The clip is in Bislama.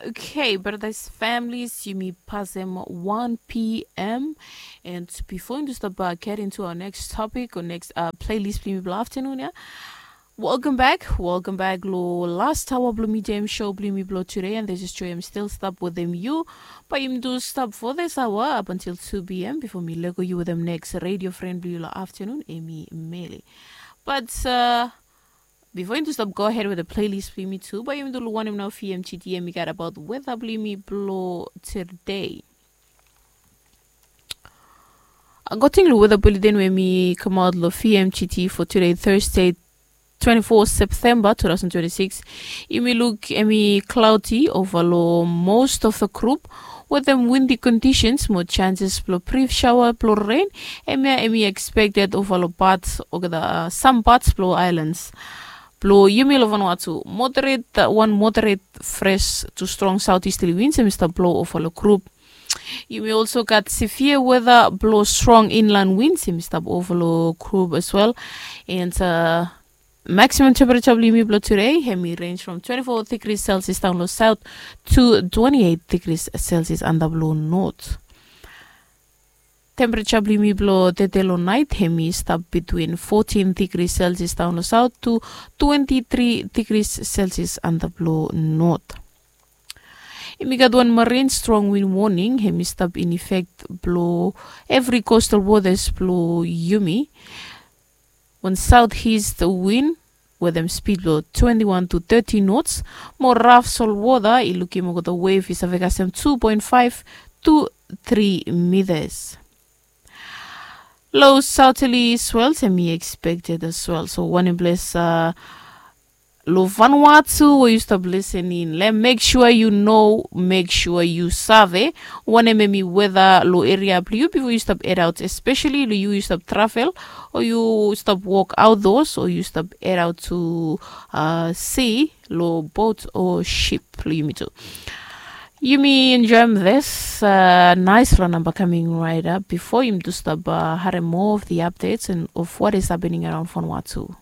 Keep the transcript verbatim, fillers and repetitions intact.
Okay, brothers, families, yumi pasem one p.m. And before yumi stap uh, get into our next topic or next uh, playlist blong yumi blong afternoon, yeah? Welcome back, welcome back lo last hour blong mi jam show blong yumi blong today, and this is Joy. I'm still stap wetem yu. Bae yumi do stap for this hour up until two p.m. before mi lego yu wetem next radio friend blong yu lo afternoon, Emi Mele. But uh, before yumi stap go ahead with the playlist blong yumi tu, bae yumi do lo wanem nao fi M G T, yumi gat about weather blong yumi blong today. According lo weather bulletin we mi kamaot lo V M G T for today, Thursday, twenty-four September two thousand twenty-six, yumi luk hemi cloudy over lo most of the group wetem windy conditions mo chances blo brief shower blo rain. Hemia hemi expected over lo parts olgeta uh, some parts blo islands. Blo yumi lo Vanuatu, moderate uh, one moderate fresh to strong southeasterly winds hemi stap blo over lo group. Yumi also gat severe weather blo strong inland winds hemi stap over lo group as well. And uh, maximum temperature blo yumi blo today hemi range from twenty-four degrees Celsius down lo south to twenty-eight degrees Celsius antap lo north. Temperature blo yumi blo tede lo nait hemi stap between fourteen degrees Celsius down lo south to twenty-three degrees Celsius antap lo north. Yumi gat wan marine strong wind warning hemi stap in effect blo every coastal waters blo yumi. Wan southeast wind wetem speed blo twenty-one to thirty knots. Mo raf solwota i lukim olgeta wave i save kasem two point five to three meters. Low southerly swells hemi expected as well. So wanem ples uh, lo Vanuatu we yu stap listening lo hem, make sure you know, make sure you save wanem hemi weather lo area blo yu bifo yu stap head out, especially lo yu yu stap travel o yu stap walk outdoors o yu stap head out to uh, sea lo boat o ship lo yumi tu. Yumi enjoy this uh, nice lo namba coming right up bifo yumi tu stap uh, harem more of the updates and of what is happening around Vanuatu.